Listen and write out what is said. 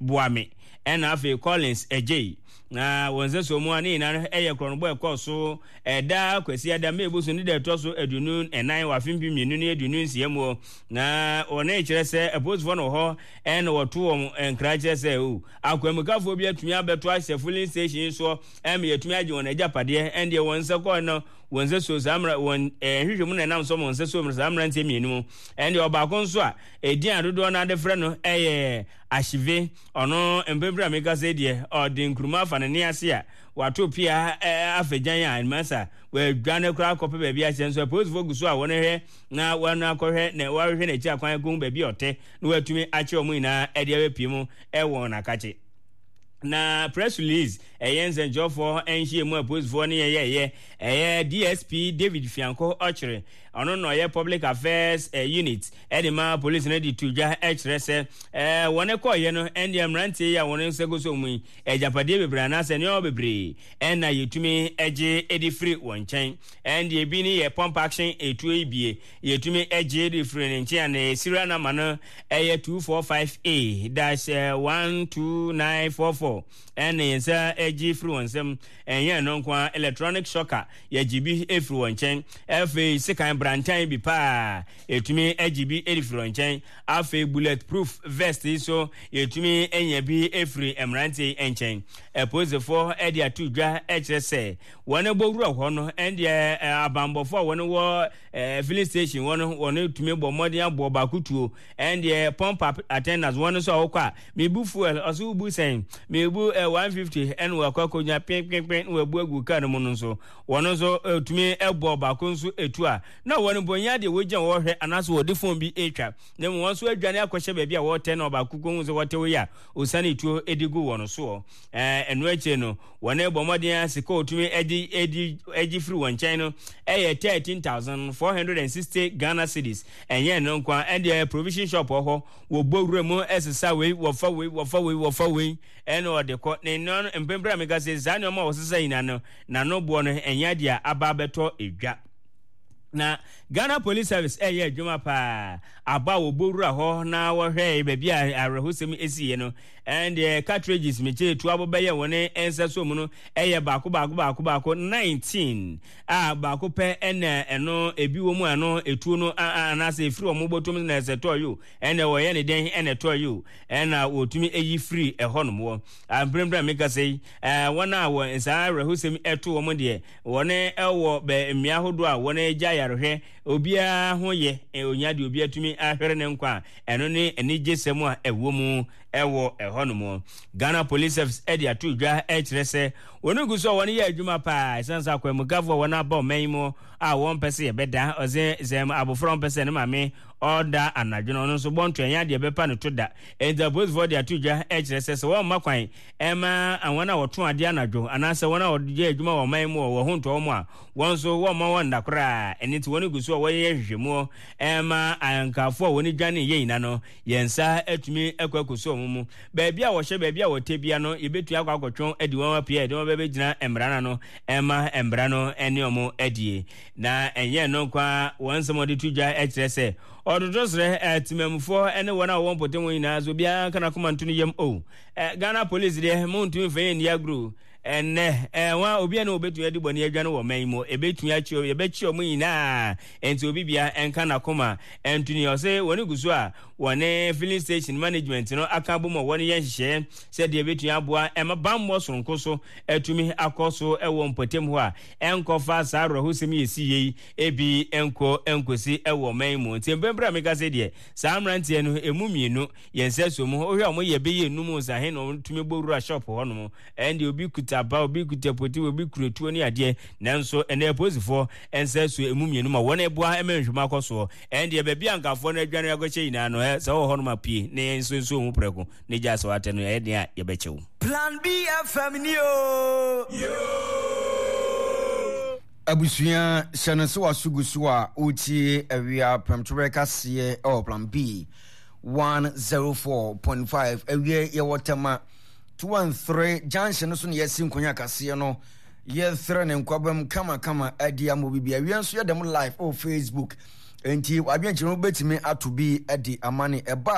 Boame ɛna afei Collins Adjei. Na wɔn nsɛsoɔ mu a ne nyinaa no yɛ korɔnobɔ ɛkɔɔ so ɛda Kwasiada May bosom ne da ɛtɔ so 24 wɔ afe 2026 mu. Na wɔn kyerɛ sɛ apolisifoɔ no wɔ hɔ ɛna wɔto wɔn nkra kyerɛ sɛ o akwanmukafoɔ bi atumi abɛto ahyɛ filling station yi soɔ ɛma yɛatumi agye wɔn agyapadeɛ. Ɛndeɛ wɔn nsa kɔɔ no wɔn nsa suo saa mmerɛ wɔn nhwehwɛ mu na ɛnam so wɔn nsa suo saa mmeranteɛ mmienu mu. Ɛndeɛ ɔbaako nso a edin a dodoɔ no ade frɛ no ɛyɛ Ahyive. Ɔno mprempren a mekasa yi deɛ, ɔde nkuruma afa ne nan ase a wato pea afa gyan a masa wadwane koraa akɔpɛ baabi ahyɛ. Nso apolisifoɔ gu so a wɔhwɛ na wɔn akɔhwɛ na wɔahwehwɛ n'akyi akwan akɔhu baabi a ɔte na wɔatumi akye wɔn nyinaa de abɛpie mu wɔ wɔn akakye. Na press release ɛyɛ nsɛnkyerɛwfoɔ nhyiamu a apolisifoɔ ne yɛn yɛɛyɛ ɛyɛ DSP David Fianko Ɔkyere, ɔno na ɔyɛ Public Affairs Unit de ma polisi no de to dwa kyerɛ sɛ wɔn kɔɔyɛ no ɛndeɛ mmeranteɛ yi a wɔn nsa gu so mu yi agyapadeɛ bebree anaasɛ nneɛma bebree ɛna yɛtumi gye de firi wɔn nkyɛn. Ɛndeɛ ebi ne yɛ pump action etuo yi bie yɛtumi gye de firi ne nkyɛn a ne serial number no ɛyɛ 245A dash 12944 ɛna yɛn nsa gye firi wɔn nsam. Ɛnyɛ ɛno nko ara, electronic shocker yɛgye bi firi wɔn nkyɛn. Afei sekan brantan bi paa yɛtumi gye bi de firi wɔn nkyɛn. Afei bullet proof vest yi nso yɛtumi nya bi firi mmeranteɛ yi nkyɛn. Apolisifoɔ de ato dwa kyerɛ sɛ wɔn bɔ wura hɔ no, ɛndeɛ abanbɔfoɔ a wɔn wɔ filling station hɔ no, wɔn tumi bɔ mmɔden aboɔ baako tuo. Ɛndeɛ pump attendants wɔn nso a wɔkɔ a, mebu fuel, ɔso wobu sɛn? Mebu 150 ɛna wakɔ akɔnya penpenpen na wabu agu kaa no mu no nso, wɔn nso tumi bɔ baako nso etu a, na wɔn mpo nyɛ adeɛ wɔgyina hɔ hwɛ anaasɛ wɔde phone bi retwa, na mmom wɔn nso adwane akɔhyɛ baabi a wɔretɛ na ɔbaako kɔhu sɛ wɔte hɔ yi a, ɔsiane tuo de gu wɔn soɔ. Ɛno akyire no, wɔn bɔ mmɔden a sika a wɔtumi de de gye firi wɔn nkyɛn no yɛ 13,460 Ghana cedis. Ɛnyɛ ɛno nko ara, ɛndeɛ provision shop wɔ hɔ, wɔbɔ wura mu sesa wei, wɔfa wei, wɔfa wei, wɔfa wei, ɛna wɔde kɔ. Ne nneɛma no, mprempren a meka sɛ saa nneɛma a wɔsesa nyinaa no, n'ano boɔ no ɛnyɛ adeɛ a aba abɛtɔ edwa. Na Ghana Police Service ɛyɛ adwuma paa. Aba a wɔbɔ wura hɔ na wɔhwɛ baabi a awerɛhosɛm esiiɛ no, ɛndeɛ cartridges mekyɛ etu abo bɛyɛ wɔn nsa so mu no ɛyɛ baako baako baako baako 19 a baako pɛ ɛna ɛno ebi wɔ mu a ɛno etuo no anaasɛ efiri wɔn bɔtɔm na ɛsɛ tɔɔ yi o, ɛna wɔyɛ ne dɛn ɛna ɛtɔɔ yi o, ɛna wɔtumi eyi firi ɛhɔ nom wɔ mprempren a meka sɛ yi, wɔn a wɔ saa awerɛhosɛm ɛto wɔn deɛ wɔn ɛwɔ bɛ mmea ahodoɔ a wɔn agya yarehwɛ, obiara ho yɛ onya deɛ obiara tumi ahwere ne nkwa a ɛno ne anigyesɛm a ɛwɔ mu ɛwɔ ɛhɔ nom. Ghana Police Service ɛde ato dwa ɛkyerɛ sɛ wɔn gu so a wɔn yɛ adwuma paa ɛsiane sɛ akwanmukafoɔ a wɔn aba ɔman yi mu a wɔn pɛ sɛ yɛbɛda ɔsɛ sɛ abɔfra wɔn pɛ sɛ ne maame ɔda anadwo no ɔno nso bɔ nto ɛnyɛ adeɛ bɛpa no to da. Enti apolisifoɔ de ato dwa kyerɛ sɛ sɛ wɔmma kwan ɛma wɔn a wɔto adeɛ anadwo anaasɛ wɔn a wɔyɛ adwuma wɔ ɔman mu wɔ wɔn ho ntɔ wɔn a, wɔn nso wɔmma wɔn nna koraa. Ɛno nti wɔn gu so a wɔyɛ nhwehwɛmuo ɛma ankafoɔ a wɔn dwane yɛ nyina no, yɛn nsa atumi akɔ akɔsu wɔn mu. Baabi a wɔhyɛ, baabi a wɔtɛ bia no, yɛbɛtumi akɔ akɔtwe adi wɔn apue a yɛde wɔn bɛbɛgyina mmara no ano ɛma mmara no ne wɔn adie. Na ɛnyɛ ɛno nko ara, wɔn nsɛm a wɔde to dwa kyerɛ sɛ ɔtoto serɛ temamufoɔ ne wɔn a wɔwɔ mpɔtam hɔ nyinaa sɛ obiara nka n'akoma nto ne yam. O, Ghana Police deɛ, montumi mfa yɛn nni agorɔ o. Ɛnnɛ, wɔn a obiara ne wɔbɛtumi adi bɔne adwane wɔ ɔman yi mu, ɛbɛtumi akye, yɛbɛkye wɔn nyinaa. Enti obi biara nka n'akoma nto ne yam. Ɔse wɔn gu so a wɔne filling station management no aka abom a wɔreyɛ nhyehyɛeɛ sɛdeɛ ɛbɛtumi aboa ɛma bammɔ sononko so atumi akɔ so wɔ mpɔtam hɔ a ɛnkɔfa saa awerɛhosɛm yi ɛsi yei ebi nkɔ nkosi wɔ ɔman yi mu. Nti mprempren a meka sɛ deɛ saa mmeranteɛ no emu mmienu yɛn nsa so mu, wohwɛ a wɔyɛ bɛyɛ nnum nsahe na wɔtumi bɔ wura shop hɔ nom. Ɛnde obi kuta ba, obi kuta poti, obi kura tuo ne adeɛ. Nanso ɛnɛ apolisifoɔ nsa so emu mmienu ma wɔn ɛboa ma nhwehwɛmu akɔ soɔ. Ɛndeɛ baabi a nkafoɔ no adwane akɔhyɛ nyinaa no, sɛ wowɔ hɔ nom a pue na yɛn nso nso ho prɛko na gya sɛ woatɛ no, ɛyɛ den a yɛbɛkyɛ wo. Plan B FM ni oo. Abusua, hyɛ no sɛ w'aso gu so a woretie Awia Prɛmtoberɛ kaseɛ wɔ Plan B 104.5. Awia yɛwɔ Tema 213 junction no so na yɛasi nkonya kaseɛ no. Yɛsrɛ ne nkwabam kamakama adi ama obi bia. Awia nso yɛda mu live wɔ Facebook. Enti w'adwenkyerɛ no wobɛtumi ato bi de ama ne ɛba.